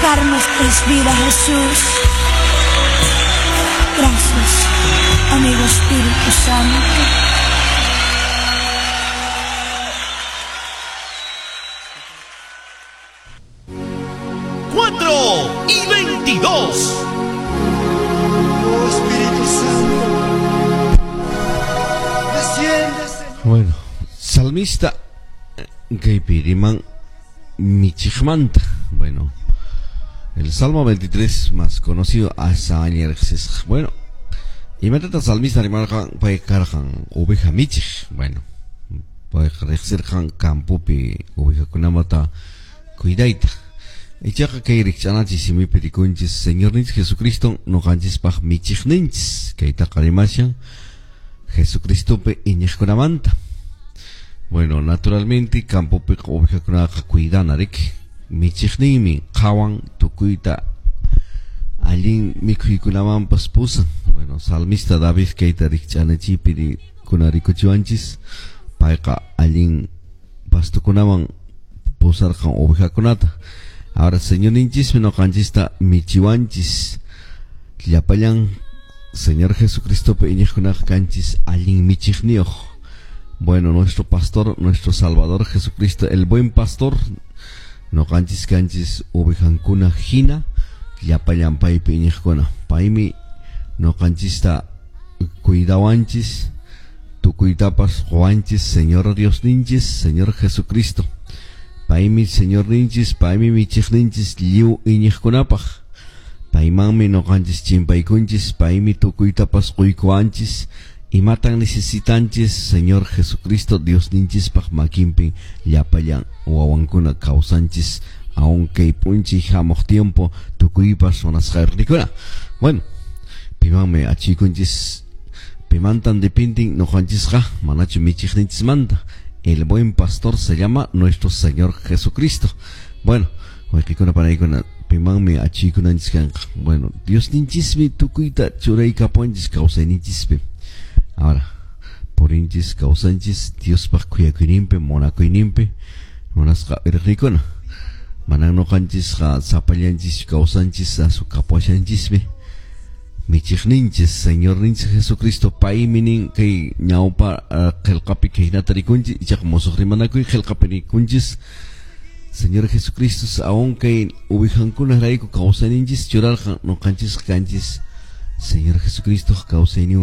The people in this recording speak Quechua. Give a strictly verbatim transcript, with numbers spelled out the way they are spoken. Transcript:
tocar nuestras vidas, Jesús. Gracias, amigo Espíritu Santo. cuatro y veintidós. Oh Espíritu Santo, desciende, Señor. Bueno, salmista kaypi riman michiqmanta. Bueno, el Salmo veintitrés más conocido hasta. Bueno, imatata salmista rimarqan pay karqan oveja michiq. Bueno, payqa riqsirqan campopi ovejakunamanta cuidayta. Ichaqa kay rikch'anachis simipi rikunchis Señorninchis Jesucristo noqanchispaq michiqninchis kaytaqa rimashan Jesucristopi iñiqkunamanta. Bueno, naturalmente campopi ovejakunaqa cuidana riki michiqninmi qhawan tukuyta allin mikhuykunamanpas pusan. Bueno, salmista David kayta rikch'anachipi kuna rikuchiwanchis payqa allin pastukunaman pusarqan ovejakunata. Ahora, Señorninchismi noqanchista michiwanchis llapallan Señor Jesucristopi iñiqkunaqa kanchis allin michiqniyuq. Bueno, nuestro pastor, nuestro Salvador Jesucristo, el buen pastor, noqanchis kanchis ovejankuna hina llapallan paypi iñiqkuna. Paymi noqanchista cuidawanchis, tukuytapas qowanchis, Señor Diosninchis, Señor Jesucristo. Paymi Señorninchis, paymi michiqninchis lliw iñiqkunapaq. Paymanmi noqanchis chimpaykunchis, paymi tukuytapas quykuwanchis. Imatan necesitanchis, Señor Jesucristo, Diosninchispaq makinpi llapallan wawankuna kawsanchis, aunque punchi hamuq tiempo tukuypas munasqayrikuna. Bueno, pimanmi achikunchis, pimantan dependen noqanchisqa, manachu michiqninchismanta. El buen pastor se llama nuestro Señor Jesucristo. Bueno, wayqikuna panaykuna pimanmi achikunanchis kanqa. Bueno, Diosninchismi tukuyta churaykapuwanchis kawsayninchispi. Ahora, purinchis kawsanchis Diospaq khuyakuyninpi munakuyninpi munasqa irqikuna. Manan noqanchisqa sapallanchis kawsanchis asu kapuashanchismi. Michiqninchis Señorninchis Jesucristo paymi nin kay ñawpa qillqapi kaynata rikunchis ichaqa musuq rimanakuy qillqapi rikunchis Señor Jesucristo aún kay uwijankunarayku kawsayninchis churarqan noqanchis kanchis Señor Jesucristo kawsaynin.